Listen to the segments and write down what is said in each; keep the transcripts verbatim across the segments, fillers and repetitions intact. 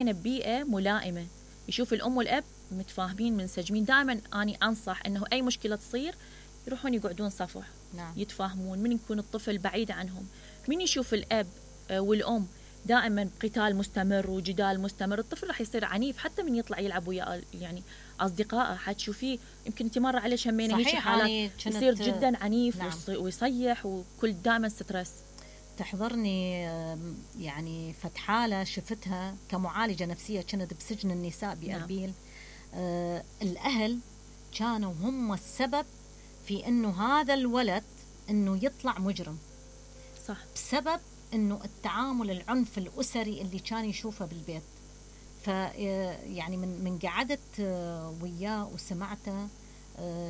ببيئة ملائمة، يشوف الأم والأب متفاهمين منسجمين. دائما أنا أنصح أنه أي مشكلة تصير يروحون يقعدون صفح. نعم. يتفاهمون. من يكون الطفل بعيد عنهم، من يشوف الأب والأم دائما قتال مستمر وجدال مستمر، الطفل راح يصير عنيف حتى من يطلع يلعب ويا يعني أصدقائه. حتشوفيه يمكن انت مرة على شمينا هيك حالات يصير جدا عنيف. نعم. ويصيح وكل دائما ستريس. تحضرني يعني فتحالة شفتها كمعالجة نفسية كانت بسجن النساء بأربيل. نعم. آه الأهل كانوا هم السبب في أنه هذا الولد أنه يطلع مجرم. صح. بسبب أنه التعامل العنف الأسري اللي كان يشوفه بالبيت. ف يعني من من قعدت وياه وسمعته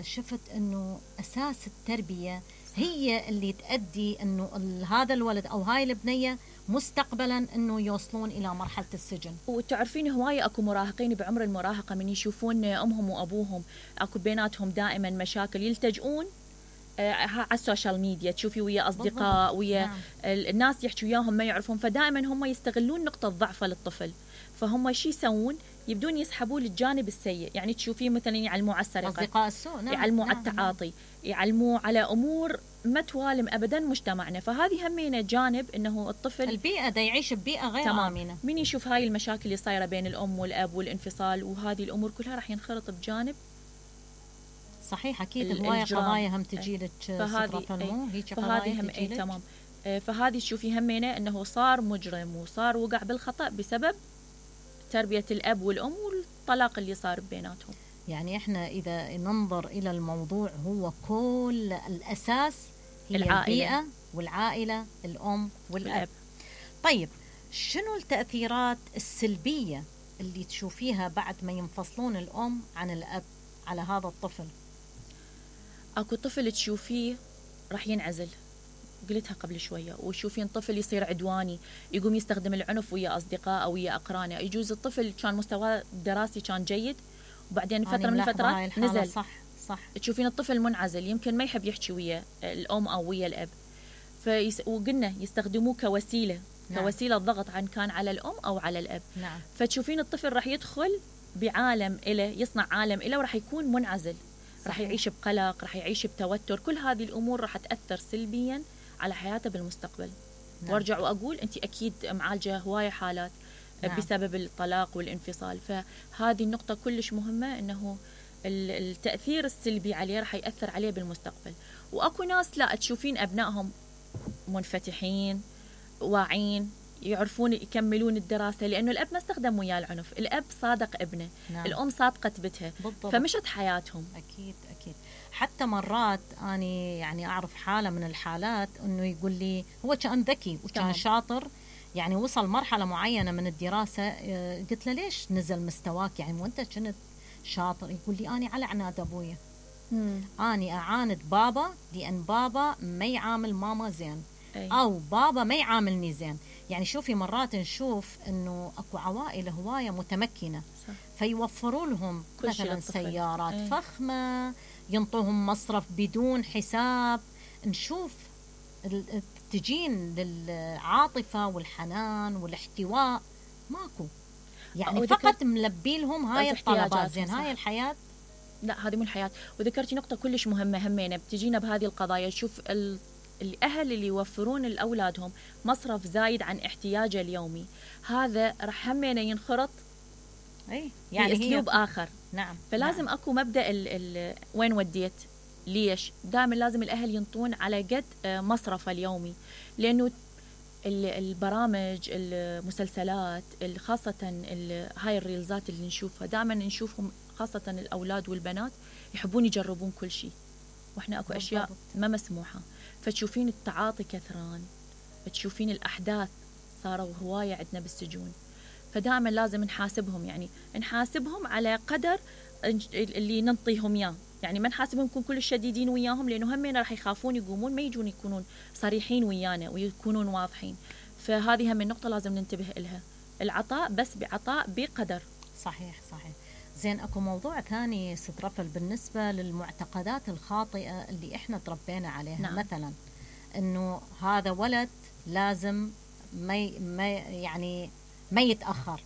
شفت أنه أساس التربية هي اللي تؤدي أنه هذا الولد أو هاي البنية مستقبلا أنه يوصلون إلى مرحلة السجن. وتعرفين هواية أكو مراهقين بعمر المراهقة من يشوفون أمهم وأبوهم أكو بيناتهم دائما مشاكل يلتجؤون على السوشيال ميديا، تشوفي ويا أصدقاء ويا نعم. الناس يحكوا وياهم ما يعرفون، فدائما هم يستغلون نقطة ضعفه للطفل، فهم شي يسوون يبدون يسحبوه للجانب السيء. يعني تشوفيه مثلا يعلموه على السرقة، أصدقاء السوء. نعم. يعلموه نعم. على التعاطي. نعم. يعلموه على أمور ما توالم أبدا مجتمعنا. فهذه همينة جانب أنه الطفل البيئة دا يعيش ببيئة غير تمام. آمنة. من يشوف هاي المشاكل اللي صايرة بين الأم والأب والانفصال وهذه الأمور كلها راح ينخرط بجانب. صحيح. أكيد هواية قضايا هم تجيلك سترة المو هيك قضايا هم أي تمام. فهذه تشوفي همينة أنه صار مجرم وصار وقع بالخطأ بسبب تربية الأب والأم والطلاق اللي صار بيناتهم. يعني إحنا إذا ننظر إلى الموضوع هو كل الأساس هي العائلة. البيئة والعائلة، الأم والأب. والأب. طيب شنو التأثيرات السلبية اللي تشوفيها بعد ما ينفصلون الأم عن الأب على هذا الطفل؟ أكو طفل تشوفيه راح ينعزل، قلتها قبل شوية، وشوفين طفل يصير عدواني، يقوم يستخدم العنف ويا أصدقائه أو ويا أقرانه. يجوز الطفل كان مستواه الدراسي كان جيد وبعدين فترة من الفترات نزل. صح صح. تشوفين الطفل منعزل، يمكن ما يحب يحكي ويا الأم أو ويا الأب، فيس... وقلنا يستخدموه كوسيلة. نعم. كوسيلة ضغط عن كان على الأم أو على الأب. نعم. فتشوفين الطفل راح يدخل بعالم إله، يصنع عالم إله وراح يكون منعزل. راح يعيش بقلق، راح يعيش بتوتر. كل هذه الأمور راح تأثر سلبيا على حياته بالمستقبل. نعم. وارجع وأقول أنت أكيد معالجة هواية حالات. نعم. بسبب الطلاق والانفصال، فهذه النقطة كلش مهمة أنه التأثير السلبي عليه راح يأثر عليه بالمستقبل. وأكو ناس لا تشوفين أبنائهم منفتحين واعين يعرفون يكملون الدراسة لأنه الأب ما استخدم وياه العنف، الأب صادق ابنه. نعم. الأم صادقة بتها. بالضبط. فمشت حياتهم. أكيد أكيد. حتى مرات أنا يعني أعرف حالة من الحالات أنه يقول لي هو كان ذكي وكان شاطر، يعني وصل مرحلة معينة من الدراسة، قلت له ليش نزل مستواك يعني وانت كنت شاطر؟ يقول لي أنا على عناد أبويا. مم. أنا أعاند بابا لأن بابا ما يعامل ماما زين. أي. أو بابا ما يعاملني زين. يعني شوفي مرات نشوف أنه أكو عوائل هواية متمكنة. صح. فيوفروا لهم مثلا سيارات أي. فخمة، ينطوهم مصرف بدون حساب. نشوف تجين للعاطفة والحنان والاحتواء ماكو، يعني فقط ملبي لهم هاي الطلبات. زين هاي الحياة؟ لا هذه مو الحياة. وذكرتي نقطة كلش مهمة همينة بتجينا بهذه القضايا. شوف الأهل اللي يوفرون لأولادهم مصرف زايد عن احتياجه اليومي، هذا رح همينة ينخرط أي يعني بأسلوب آخر. نعم. فلازم نعم. أكو مبدأ ال ال وين وديت ليش. دائما لازم الأهل ينطون على قد مصرفه اليومي، لأنه البرامج المسلسلات خاصة هاي الريلزات اللي نشوفها دائما نشوفهم، خاصة الأولاد والبنات يحبون يجربون كل شيء، وإحنا أكو أشياء ما مسموحة. فتشوفين التعاطي كثران، تشوفين الأحداث صاروا هواية عندنا بالسجون. فدائما لازم نحاسبهم، يعني نحاسبهم على قدر اللي ننطيهم إياه. يعني ما نحاسبهم نكون كل الشديدين وياهم، لأنه همين راح يخافون يقومون ما يجون يكونون صريحين ويانا ويكونون واضحين. فهذه هم النقطة لازم ننتبه إلها، العطاء بس بعطاء بقدر. صحيح صحيح. زين أكو موضوع ثاني ست رفل بالنسبة للمعتقدات الخاطئة اللي إحنا تربينا عليها. نعم. مثلا إنه هذا ولد لازم ما ما يعني ما يتأخر،